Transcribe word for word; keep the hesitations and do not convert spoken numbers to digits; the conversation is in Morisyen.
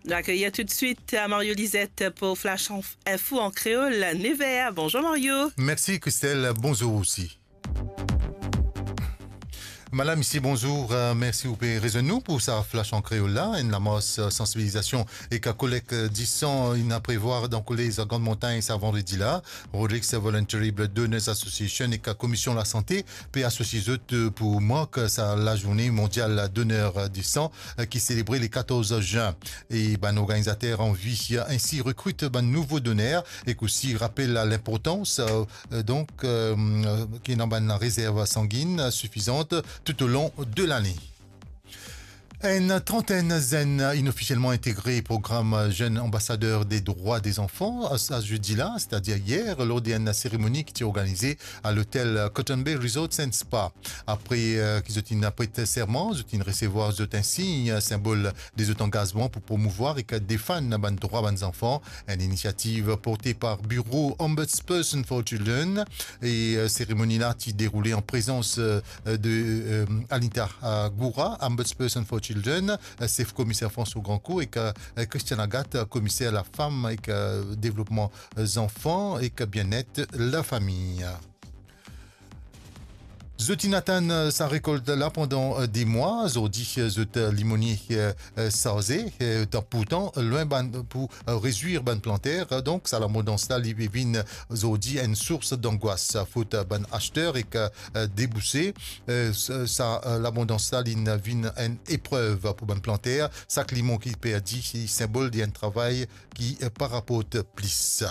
Nou akeyir toutswit, eh, Mario Lisette pou Flash Inf-, Info an kreol, nef er. Bonzour Mario. Mersi Christelle, bonzour osi. Madam, misisie, bonzour. Eh, mersi ou pe rezwenn nou pou sa Flash an kreol la. Enn lamars, eh, sansibilizasion ek kolekt, eh, disan inn a prevwar dan kolez Grand Montagne sa vandredi la. Rodrigues Voluntary Blood Donors Association ek Komisyon Lasante pe asosie zot, eh, pou mark sa lazourne mondial doner de san, eh, ki selebre le katorz zin. E bann organizater anvi ensi rekrit bann nouvo doner ek osi rapel linportans, eh, eh, donk, eh, ki ena bann rezerv sanginn sifizan toulong de lane. Enn trantenn zenn inofisielman integre program Jeune Ambassadeur des Droits des Enfants, sa zedi la, setadir yer, lor de enn seremoni ki ti organize a lotel Cotton Bay Resort and Spa. Apre, eh, ki zot inn pret serman, zot inn resevwar zot insign, sinbol de zot angazman pou promouvoir ek defann bann drwa bann zanfan, enn inisiativ porte par Biro Ombudsperson for Children. E, eh, seremoni la ti deroule an prezans, eh, de, eh, Anita, eh, Goura, Ombudsperson for Children, eh, sef komiser François Grandcourt, ek, eh, Christiane Agathe, komiser lafam ek, eh, devlopman, eh, zanfan ek bienet lafami. Zot inn atann, eh, sa rekolt la pandan, eh, de mwa. Zordi, eh, zot, eh, limonie, eh, eh, sarze, eh, dan, pourtan, lwin bann, pou, eh, rezwir bann planter. Donk, sa labondans la, li vinn zordi enn sours dangwas, fot bann aster ek, eh, debouse. Eh, sa, sa, eh, labondans la, li vinn enn eprev pou bann planter. Sak limon ki perdi, se sinbol de enn travay ki, eh, pa raport plis.